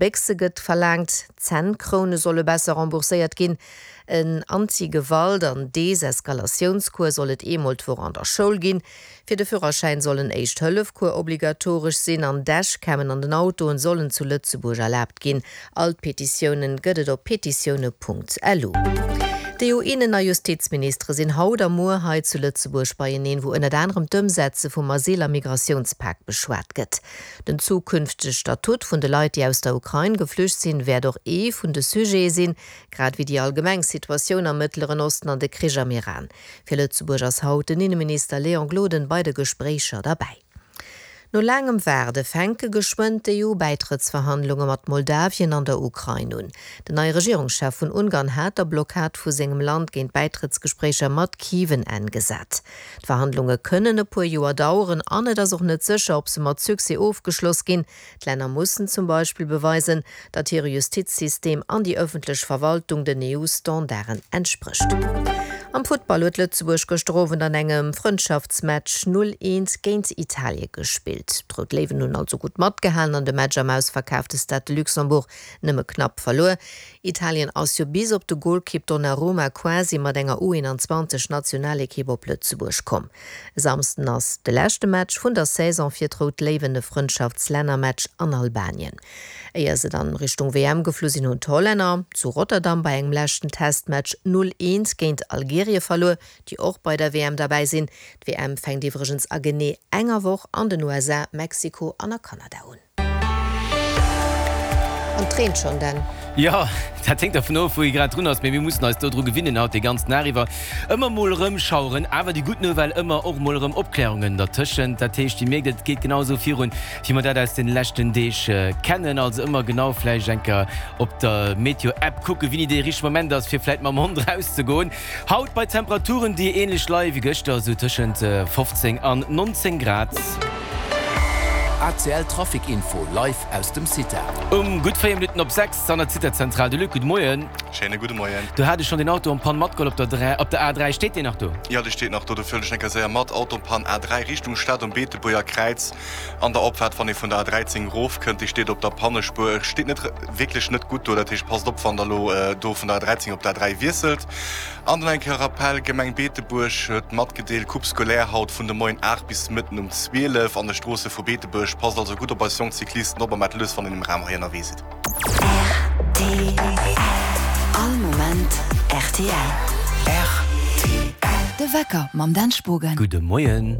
Béchse gëtt verlaangt, Zännkroune solle besser rembourséiert ginn, en Anti-Gewalt an Deseskalatiounscours soll et eemol d'Woch an der Schoul ginn, fir de Führerschäin soll en Éischt-Hëllef-Cours obligatoresch sinn an Dashcammen an den Autoen sollen zu Lëtzebuerg erlaabt ginn. All d'Petitiounen gëtt et op petitioune.lu. D'EU-Innen a Justizministere sinn haut a muer hei zu Lëtzebuerg beieneen, wou ënnert anerem d'Ëmsetze vum Asyl a Migratiounspak beschwat gëtt. Den zukünftege Statut vun de Leit, déi aus der Ukrain geflücht sinn, wäert och ee vun de Sujete sinn, grad ewéi déi allgemeng Situatioun am Mëttleren Osten an de Krich am Iran. Fir Lëtzebuerg ass haut den Inneminister Léon Gloden bei de Gespréicher derbäi. No laangem Waarde fänke geschwënn d'EU-Bäitrëttsverhandlunge mat Moldawien an der Ukrain un. Den neie Regierungschef vun Ungarn hat der Blockad vu sengem Land géint d'Bäitrëttsgespréicher mat Kiew en Enn gesat. D'Verhandlunge kënnen e puer Joer daueren an et ass och net sécher, ob se mat Succès ofgeschloss ginn. D'Länner mussen zum Beispill beweisen, datt hire Justizsystem an déi ëffentlech Verwaltung den EU-Standarden entsprécht. Am Futtball huet Lëtzebuerg gëschter Owend an engem Frëndschaftsmatch 0, 1 géint Italie gespillt. D'Rout Léiwen hunn also gutt matgehalen an de Match am ausverkaafte Stade de Luxembourg nëmme knapp verluer. Italien ass jo bis op de Golkipp Donnarumma quasi mat enger U21 Nationalekipp op Lëtzebuerg komm. E Samsden ass de leschte Match vun der Saison fir d'Rout Léiwen, e Frëndschaftslännermatch an Albanien. Éier se dann Richtung WM geflu sinn, hunn d'Hollänner zu Rotterdam bei engem leschten Testmatch 0, 1 géint Algerien verluer, déi och bei der WM derbäi sinn. D'WM fänkt iwwregens a genee enger Woch an den USA, Mexiko an a Kanada un. An et reent schonn, Dan. Jo, dat héngt dervun of, wou ee grad drun ass, mee mir mussen eis dodru gewinnen haut dee ganzen Dag iwwer. Ëmmer mol erëm Schaueren, awer déi gutt Nouvelle, ëmmer och mol erëm Opklärungen dertëschent. Dat heescht, Dir mierkt, et geet genau esou virun, wéi mer dat aus de leschten Deeg kennen. Also ëmmer genau vläicht eng Kéier op der Meteo-App kucken, wéini dee richtege Moment ass, fir vläicht mam Hond erauszegoen. Haut bei Temperaturen, déi ähnlech leie wéi gëschter, esou tëschent 15 an 19 Grad. ACL Trafic Info live aus dem CITA. Um gutt 4 Minutten op 6 an der CITA-Zentral. De Luc, gudde Moien. Schéine gudde Moien. Du hat ech schonn den Auto en panne matgeholl op der 3, op der A3. Steet deen nach do? Jo, dee steet nach do. Dofir huelen ech eng Kéier séier mat. Auto en panne A3 Richtung Stad um Beetebuerger Kräiz an der Opfaart, wann ee vun der A13 erofkënnt. Dee steet op der Pannespuer. Steet net wierklech net gutt do. Dat heescht, passt op, wann der elo do vun der A13 op der A3 wiesselt. An dann eng Kéier Rappel, Gemeng Beetebuerg huet matgedeelt, Coupe scolaire haut vun de Moien 8 bis Mëtten um 12 an de Stroosse vu Beetebuerg. Passt also gutt op eis jonk Cyclisten op a maacht lues, wann een um Raum hei ënnerwee sidd. Rtl. All Moment rtl. Rtl. De Wecker mam Dan Spogen. Gudde Moien.